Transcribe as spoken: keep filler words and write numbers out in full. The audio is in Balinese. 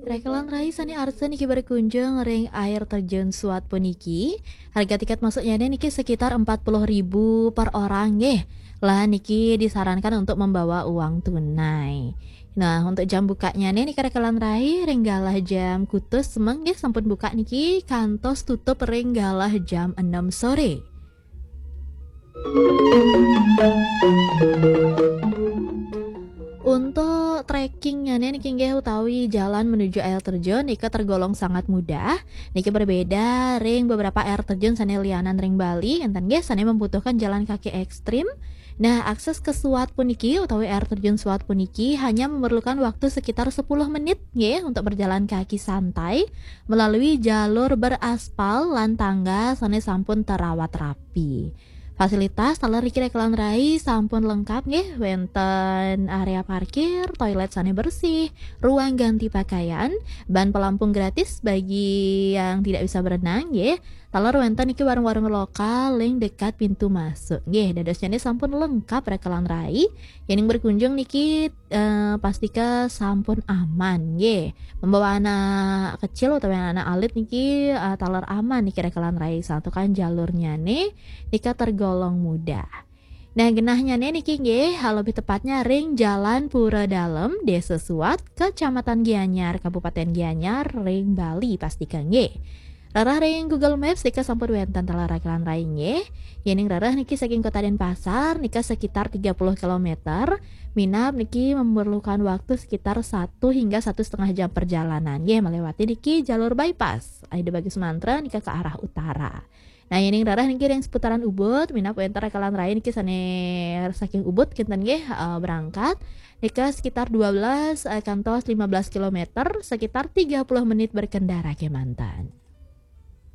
Rekelan rai sane arsa niki berkunjung ring air terjun Suat puniki. Harga tiket masuknya niki sekitar empat puluh ribu per orang nggih. Lah niki disarankan untuk membawa uang tunai. Nah, untuk jam bukanya nih niki rekelan rai ring galah jam kutus semeng nggih sampun buka niki kantos tutup ring galah jam enam sore. Untuk trekkingnya nih niki nggih utawi jalan menuju air terjun nika tergolong sangat mudah. Niki berbeda ring beberapa air terjun sane lianan ring Bali, enten nggih sane membutuhkan jalan kaki ekstrim. Nah, akses ke Suat puniki utawi air terjun Suat puniki hanya memerlukan waktu sekitar sepuluh menit nggih untuk berjalan kaki santai melalui jalur beraspal lan tangga sane sampun terawat rapi. Fasilitas taler niki rekelan rai sampun lengkap nggih, wenten area parkir, toilet sane bersih, ruang ganti pakaian, ban pelampung gratis bagi yang tidak bisa berenang nggih. Taler wenten niki warung-warung lokal ring dekat pintu masuk nggih. Dadosnya ini sampun lengkap rekelan rai. Yening berkunjung niki eh, pastika sampun aman nggih. Membawa anak kecil utawi anak alit niki eh, taler aman niki rekelan rai, santukan jalurnya nih nika tergolong mudah. Nah, genahnya nih niki nggih, lebih tepatnya ring Jalan Pura Dalem, Desa Suat, Kecamatan Gianyar, Kabupaten Gianyar, ring Bali pastika nggih. Rereh ring Google Maps nika sampun wenten taler rekelan rai nggih. Yening rereh niki saking Kota Denpasar nika sekitar tiga puluh kilometer. Minab niki memerlukan waktu sekitar satu hingga satu setengah jam perjalanan nggih, melewati niki jalur bypass. Ida Bagus Mantra nika ke arah utara. Nah, yening rereh niki ring seputaran Ubud, minab wenten rekelan rai niki sane saking Ubud kinten nggih, eh, berangkat. Nika sekitar dua belas, eh, kantos lima belas kilometer, sekitar tiga puluh menit berkendara kemanten.